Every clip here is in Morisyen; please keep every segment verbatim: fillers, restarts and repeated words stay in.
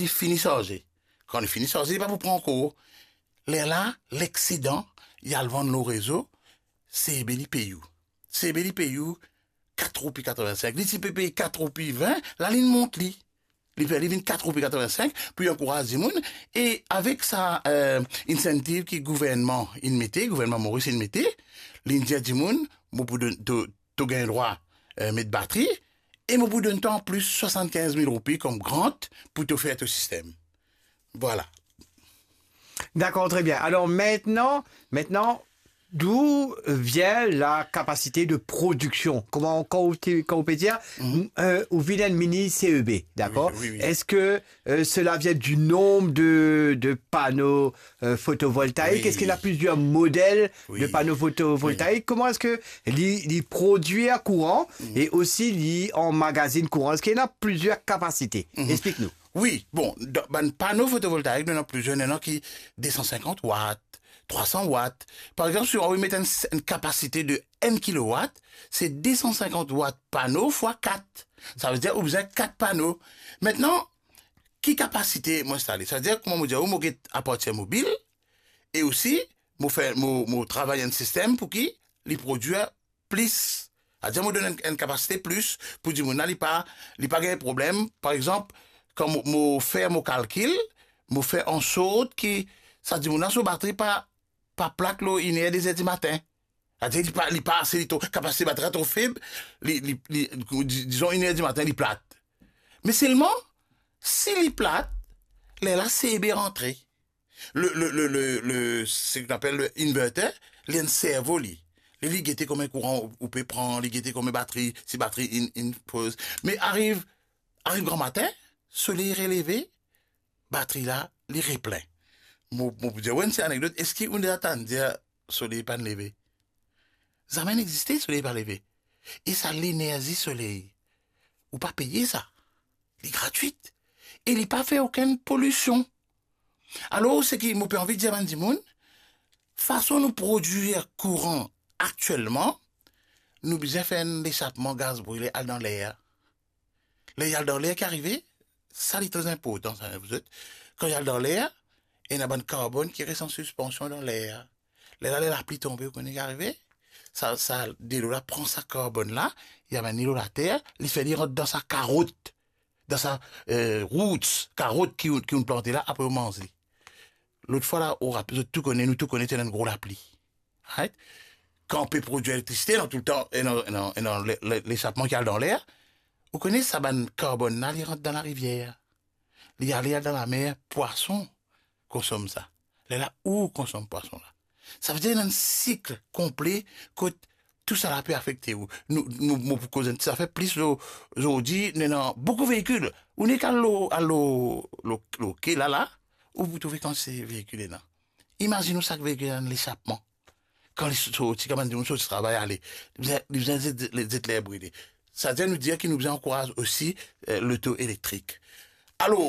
li fini sarze. Kan li fini sarze, li pa pou pran ankor. Lerla, lexsedan, li al vann lor rezo, CEB li pey ou. CEB li pey ou kat roupi katrevinsenk. Li ti pe pey kat roupi vin, la li mont li. Li pe, li vinn kat roupi katrevinsenk pou li ankouraz dimoun. E avek sa, eh, incentive ki gouvernman inn mete, gouvernman Moris inn mete, li dir dimoun, mo pou donn, to, to gagn drwa, eh, met batri, e mo pou donn twa anplis swasannkinz mil roupi kom grant pou to fer to sistem. Vwala. D'accord, très bien. Alors maintenant, maintenant, d'où vient la capacité de production? Comment, quand on, quand on peut dire, euh, ou vient une mini C E B, d'accord? Oui, oui, oui. Est-ce que euh, cela vient du nombre de, de panneaux euh, photovoltaïques? Oui. Est-ce qu'il y en a plusieurs modèles Oui. de panneaux photovoltaïques? Comment est-ce que li, li produit à courant et aussi li en magazine courant? Est-ce qu'il y en a plusieurs capacités? Explique-nous. Wi, bon, dan, bann pano fotovoltaik, nou ena plizier, nou ena ki de san sinkant wat, trwa san wat. Par exanp, si ou anvi met enn, enn kapasite de enn kilowat, se de san sinkant wat pano fwa kat. Sa ve dir ou bizin kat pano. Aster, ki kapasite mo instale? Sa ve dir, kouma mo dir ou, mo get apartir mobil, e osi, mo fer, mo, mo travay enn sistem pou ki li prodwir plis. Sa ve dir mo donn enn, enn kapasite plis pou dimoun la, li pa, li pa gagn problem. Par exanp, kan mo, mo fer mo kalkil, mo fer ansort ki sa dimoun la so batri pa, pa plat lor inn er, de zer dimatin. Sa ve dir li pa, li pa ase, li tro, kapasite batri la tro feb, li, li, li, di-, dizon inn er dimatin, li plat. Me selman, si li plat, lerla CEB rantre. Le, le, le, le, le, ce qu'on appelle le inverter, li enn servo li. Li, li gete konbien kouran ou, ou pe pran, li gete konbien batri, si batri inn, inn poz. Me ariv, ariv gramatin, soley releve, batri la, li replin. Mo, mo pou dir ou enn ti anekdot, eski ou deza tann dir soley pa'nn leve? Zame inn existe soley pa leve. E sa lenerzi soley, ou pa peye sa. Li gratwit. E li pa fer okenn polision. Alor, seki mo pe anvi dir bann dimoun, fason nou prodwir kouran aktielman, nou bizin fer enn lesapman gaz brile al dan ler. Ler li al dan ler ki arive, sa li tre inportan, sa, zot. Kan li al dan ler, ena bann karbonn ki res an sispansion dan ler. Lerla, ler lapli tonbe, ou kone ki arive? Sa, sa, delo la pran sa karbonn la, li amenn li lor later, li fer li rant dan sa karot, dan sa, eh, roots, karot ki, ki ou'nn plante la, apre ou manz li. Lot fwa la, ou rap-, zot tou kone, nou tou kone, ti ena enn gro lapli. Right? Kan ou pe prodwir elektrisite, ena toultan, ena, ena, ena le, le, lesapman ki al dan ler, ou kone sa bann karbonn la, li rant dan larivier. Li ale, al dan lamer, pwason konsom sa. Lerla ou konsom pwason la. Sa ve dir ena enn sik konple kot tousala pe afekte ou. Nou, nou, mo pou koz enn ti zafer plis lor, zordi, nou ena boukou veikil. Ou nek al lor, al lor, lor, lor ke la, la, ou pou trouve kantite veikil ena. Imazinn ou sak veikil ena enn lesapman. Kan li sorti, kan bann dimoun sorti travay ale, li bizin, li bizin zet, zet, zet ler brile. Sa dir nou dir ki nou bizin ankouraz osi, eh, loto elektrik. Alor,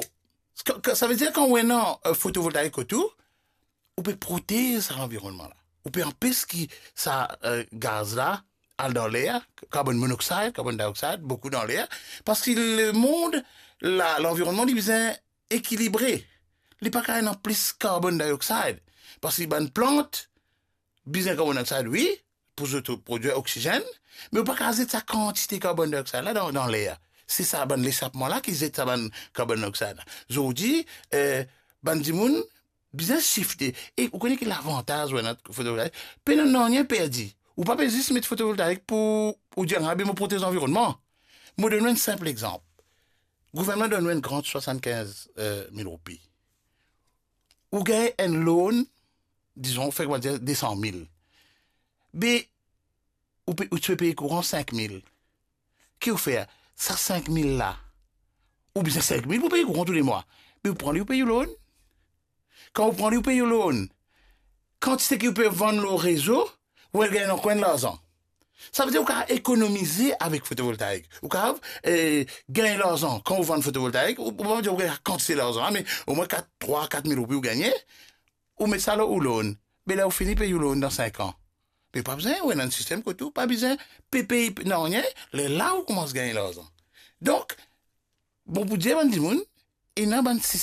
sa, sa ve dir kan ou ena, eh, fotovoltaik kot ou, ou pe protez sa lanvironnman la. Ou pe anpes ki sa, eh, gaz la al dan ler, carbon monoxide, carbon dioxide, boukou dan ler, parski lemond la, lanvironnman, li bizin ekilibre. Li pa kav ena plis carbon dioxide. Parski bann plant bizin carbon dioxide, wi, pou zot prodwir oksizenn, me ou pa kav zet sa kantite carbon dioxide la dan, dan ler. Se sa bann lesapman la ki zet sa bann carbon dioxide la. Zordi, eh, bann dimoun bizin sifte. E ou kone ki lavantaz ou ena fotovoltaik? Pena nanye perdi. Ou pa pe zis met fotovoltaik pou ou dir, "Ah, be mo protez lanvironnman." Mo donn ou enn sinp exanp. Gouvernman donn ou enn grant swasannkinz, eh, mil roupi. Ou gagn enn loan, dizon, fer koumadir, de san mil. Be, ou pe, ou ti pe pey kouran sink mil. Ki ou fer? Sa sink mil la, ou bizin sink mil pou pey kouran toulemwa. Be ou pran li, ou pey ou loan. Kan ou pran li, ou pey ou loan. Kantite ki ou pe vann lor rezo, ou al gagn ankor enn larzan. Sa ve dir ou kav ekonomize avek fotovoltaik. Ou kav, eh, gagn larzan kan ou vann fotovoltaik, ou, ou pa dir ou gagn kantite larzan la, me omwin kat, trwa, kat mil roupi ou gagne, ou met sa lor ou loan. Be ler ou fini pey ou loan dan sink an, be pa bizin, ou ena enn sistem kot ou pa bizin pe pey nanye, lerla ou koumans gagn larzan. Donk, bon, pou dir bann dimoun, ena bann sis-,